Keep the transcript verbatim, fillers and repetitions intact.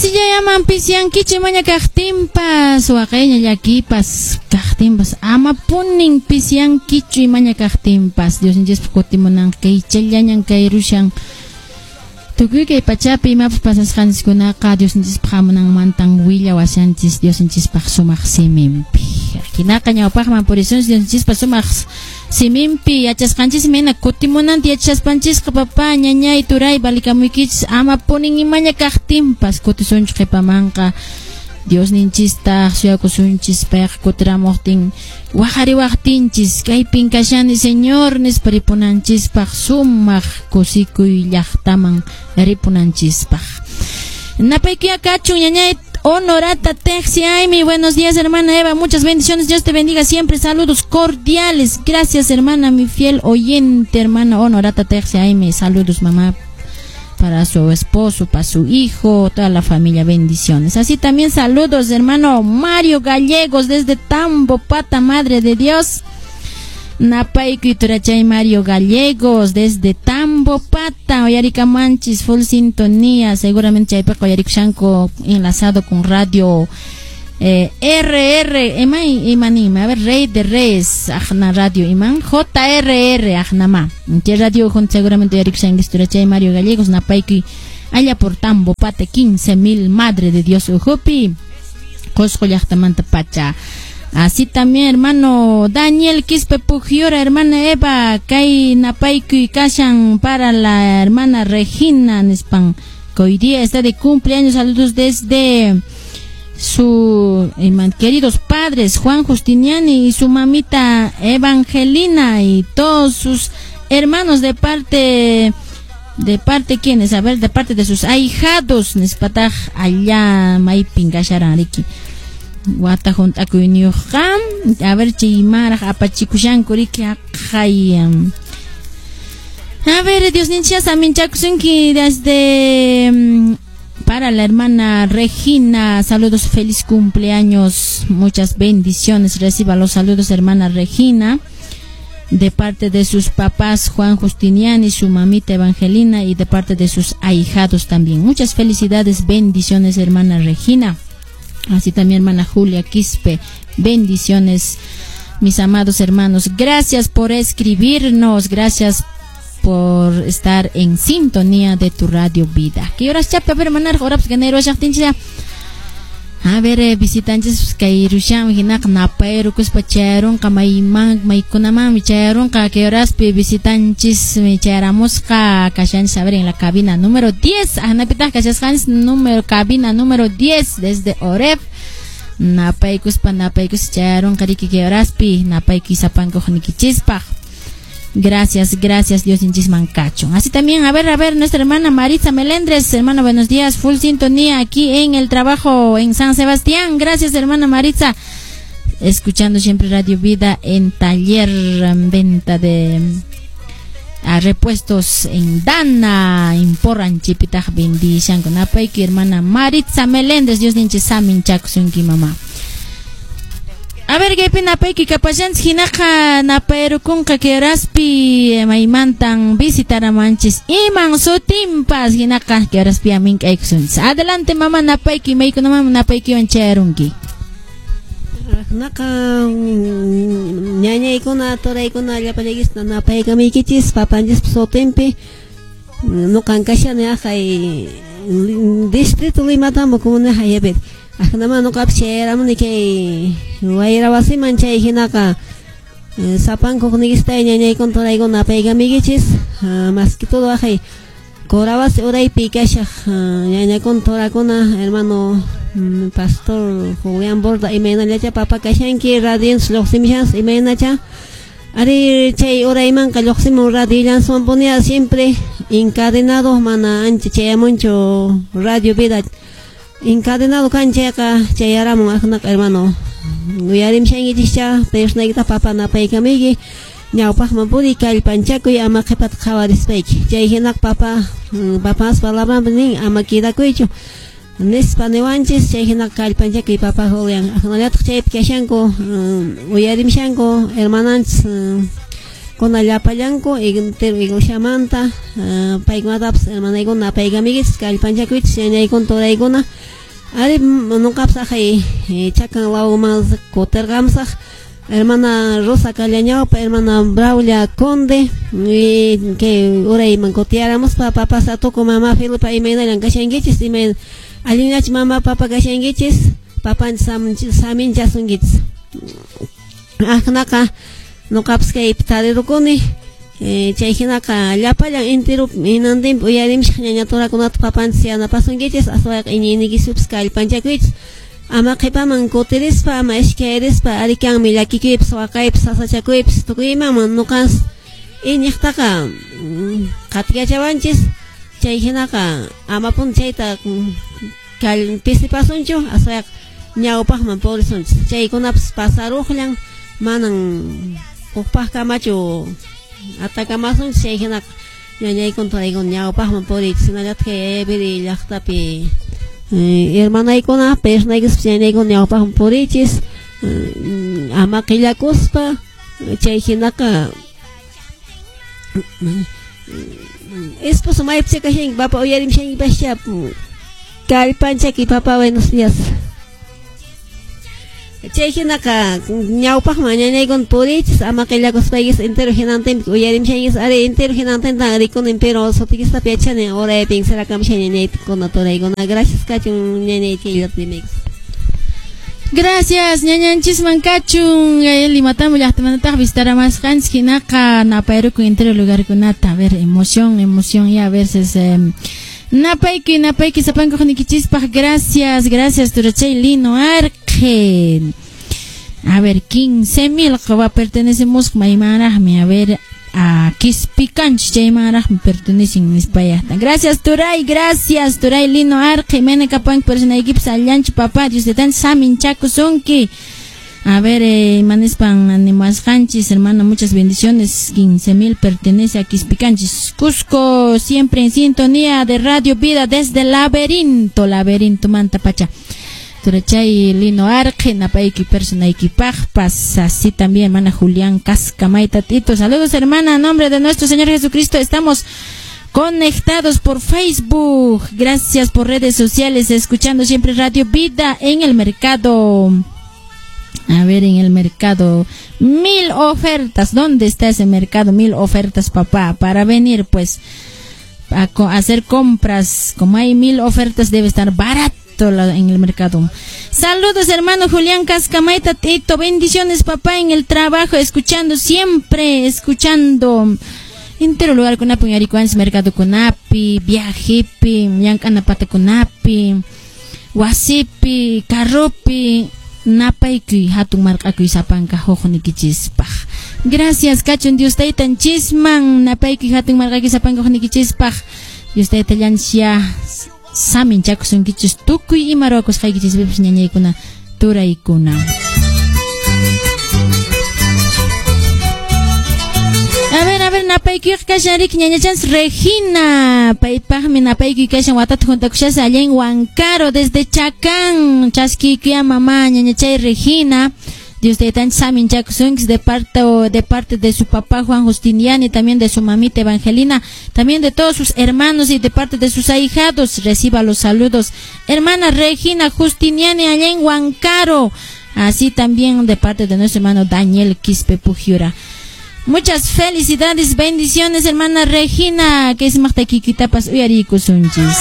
Asillayaman pisyankichu imaña kaqtinpas, waqayña llakipas kaqtinpas, amapunin pisyankichu imaña kaqtinpas. Diosninchispaq kutimunan kaychallañan kayrushan. Tukuy kay pachapi imapas pasasqanchiskunaqa Diosninchispaq hamunanmantan willawashanchis Diosninchispaq sumaq siminpi. Hinaqa ñawpaqman purisunchis Diosninchispaq sumaq siminpi yachasqanchismi hina kutimunanta yachaspanchisqa papá, ñañay, turay, balikamuykichis amapunin imaña kaqtinpas kutisunchis qhipamanqa. Diosninchista suyakusunchis payqa kutiramuqtin waqariwaqtinchis kaypin kashani Señor nispa ripunanchispaq sumaq kusikuy llaqtaman ripunanchispaq. Napaykuya kachun ñañay Honorata Texiaimi, buenos días hermana Eva, muchas bendiciones, Dios te bendiga siempre, saludos cordiales, gracias hermana, mi fiel oyente hermana Honorata Texiaimi, saludos mamá para su esposo, para su hijo, toda la familia, bendiciones. Así también saludos hermano Mario Gallegos desde Tambo, Pata, Madre de Dios. Napaykuy turachay Mario Gallegos desde Tambo Pata, Oyarika Manchis, full sintonía, seguramente chaypaqa oyarikushanku enlazado con radio eh, R R, imay imanima, a ver, Rey de Reyes, ajna radio iman, J R R, ajnama, che radio junto seguramente oyarikushanki turachay Mario Gallegos, napaykuy allá por Tambo Pata, quince mil, Madre de Dios, ujupi, Qosqo llaqtamanta pacha. Así también, hermano Daniel Quispe Pujiora, hermana Eva, kay napaykuy kashan para la hermana Regina nispan, que hoy día está de cumpleaños. Saludos desde su eh, queridos padres Juan Justiniani y su mamita Evangelina y todos sus hermanos de parte de parte quienes, a ver, de parte de sus ahijados nispataj allá maypin kasharan riki. Wata junt'akuyniyuqqa, a ver chaymaraq apachikushanku riki aqhay. A ver, Dios ninchas aminchakusunki desde para la hermana Regina, saludos, feliz cumpleaños, muchas bendiciones, reciba los saludos hermana Regina, de parte de sus papás Juan Justiniani y su mamita Evangelina y de parte de sus ahijados también. Muchas felicidades, bendiciones hermana Regina. Así también hermana Julia Quispe, bendiciones mis amados hermanos. Gracias por escribirnos, gracias por estar en sintonía de tu radio vida. ¿Qué horas chapa hermana? Horas ganero A ver, eh, visitantes kay rusham hinak napayrukuspa chayrunqa mayman maykunamanmi chayrunqa kay horaspi visitanchis mi chayramusqa kashanchis a ver en la cabina número diez, ahnapitaq kashasqanchis número cabina número diez desde Oref. Napaykuspa napaykus chayrunqa riki kay horaspi napaykuy sapankuq nikichispaq. Gracias, gracias Dios inchisman kachun. Así también, a ver, a ver, nuestra hermana Maritza Melendres, hermana, buenos días, full sintonía aquí en el trabajo en San Sebastián. Gracias, hermana Maritza, escuchando siempre Radio Vida en taller, en venta de a repuestos en Dana, en Porranchipitaj, bendición con apayki, hermana Maritza Melendres, Dios ninchisamin chakusunki mamá. A ver, kaypi napayki kapashanchis hinaqa napayrukunqa kay horaspi maymantan visitaramanchis iman sutinpas hinaqa kay horaspi amink'aykusunchis. Adelante mamá napayki maykunaman napaykiwan chayarunki. Naqa ñañaykuna turaykuna llapallaykichis napaykamiykichis papanchispa sutinpi nuqan kashani aqhay distrito Limatambo comunidad hayapit. Ajnama nuqapis chayramuni kay wayra wasiman chay hinaqa sapankuq nikistay ñañaykuna turaykuna napaykamiykichis más que todo aqhay Corawasi uraypi kashaq ñañakuna turakuna hermano pastor Julián Borda imaynallacha papa kashanki radions lluqsimishans imaynacha ari chay uraymanqa lluqsimun radiollanswan ponía siempre encadenado mana ancha chayamunchu radio vida encadenado kan chayqa chayaramun aqnaqa hermano uyarimshankichikcha persnaykita papa napaykamiyki ñawpaqman puri kallpanchakuy ama qhipata qhawarispayki chay hinaqa papa papas palabranpi nin ama quedakuychu nispa niwanchis chay hinaqa kallpanchakuy papa Julián aqnallataq chaypi kashanku uyarimshanku hermananchis kuna llapallanku entero iglesiamanta paykunatapas hermanaykuna napaykamiykichis kallpanchakuychis ñañaykuna turaykuna Ari nuqapas aqhay chakan lawman kutirqamsaq hermana Rosa Callañaupa, hermana Braulia Conde, y que urayman kutiyaramuspa papa Satuco, mamá Felipa imaynallan kashankichis, imay allinllachu mamá papa kashankichis, papanchis saminchasunkichis. Aqnaqa nuqapas kaypi tarirukuni, chay hinaqa llapallan intirupi hinantinpi uyarimishaq ñañaturakunata papanchis yanapasunkichis, aswayqa iñiyniykispipas kallpanchakuychis. Ama qhipaman kutirispa, ama iskayrispa, arikanmi llakikuypas, waqaypas, sasachakuypas, tukuy imaman nuqanchis iñiqtaqa qatikachawanchis, chay hinaqa amapuni chayta pisipasunchu, aswayqa ñawpaqman purisunchis. Chaykunapas pasaruqllan, manan hukpaqkamachu atakamasunchis, chay hinaqa ñañaykuna turaykuna ñawpaqman puriychis, hinallataq kay Ayaviri llaqtapi hermanaykuna, personaykispas ñañaykuna ñawpaqman purichis, ama qillakuspa, chay hinaqa esposo maypicha kashanki, papa uyarimshankipascha, kallpanchaki papa, buenos días. Chay hinaqa ñawpaqman ñañaykuna purichis, ama qillakuspaykis entero hinantinpi uyarimshankis, ari entero hinantintan rikunin, pero sutikistapi yachani uraypin sirakamushan ñañaykuna turaykuna. Gracias kachun ñañay chayllata rimaykis. Gracias ñañanchisman kachun Limatambo llaqtamantataq visitaramasqanchis hinaqa napayrukun entero lugarkunata. A ver, emoción, emoción ya a veces eh, napayki, napayki sapankuqnikichispaq. Gracias, gracias turachay Lino Arque. A ver, quince mil va pertenecemos maymanraqmi, a ver, a Quispicanch chaymanraqmi pertenecen nispayaqta. Gracias turay, gracias turay Lino Arque, mena kapanki personaykipas allanchu papá, Dios de tan saminchakusunki. A ver, eh, manispan animasqanchis, hermano, muchas bendiciones. quince mil pertenece a Quispicanchis. Cusco, siempre en sintonía de Radio Vida desde Laberinto, Laberinto Mantapacha. Turachay Lino Arque, napayki personaykipaqpas, así también hermana Julián Cascamaita Tito. Saludos hermana, a nombre de nuestro Señor Jesucristo estamos conectados por Facebook. Gracias por redes sociales, escuchando siempre Radio Vida en el mercado. A ver, en el mercado, mil ofertas. ¿Dónde está ese mercado? Mil ofertas, papá, para venir pues a co- hacer compras. Como hay mil ofertas, debe estar barato en el mercado. Saludos hermano Julián Cascamaita Tito, bendiciones papá en el trabajo, escuchando siempre, escuchando. Entero lugar kunapi uyarikuanchis, mercado kunapi, viajepi, llank'anapata kunapi, wasipi, carropi, napaykuy hatun marq'akuy sapanka huqnikichispaq. Gracias kachun Dios taytanchisman, napaykuy hatun marq'akuy sapanka huqnikichispaq. Dios taytallanchis saminchakusunkichis tukuy ima ruwakusqaykichispipas ñañaykuna turaykuna. A ver, a ver, napaykuyqa kashan riki ñañachanchis Regina, paypaqmi napaykuy kashan watata juntakushasqa allá en Huancaro desde Chacán, chaskiykuya mamá ñañachay Regina. Dios taytanchis saminchakusunkichis de parte, de parte de su papá Juan Justiniani, también de su mamita Evangelina, también de todos sus hermanos y de parte de sus ahijados. Reciba los saludos. Hermana Regina Justiniani allá en Huancaro, así también de parte de nuestro hermano Daniel Quispe Pujiura. Muchas felicidades, bendiciones, hermana Regina, que es Marta Kikitapas uyarikusunchis.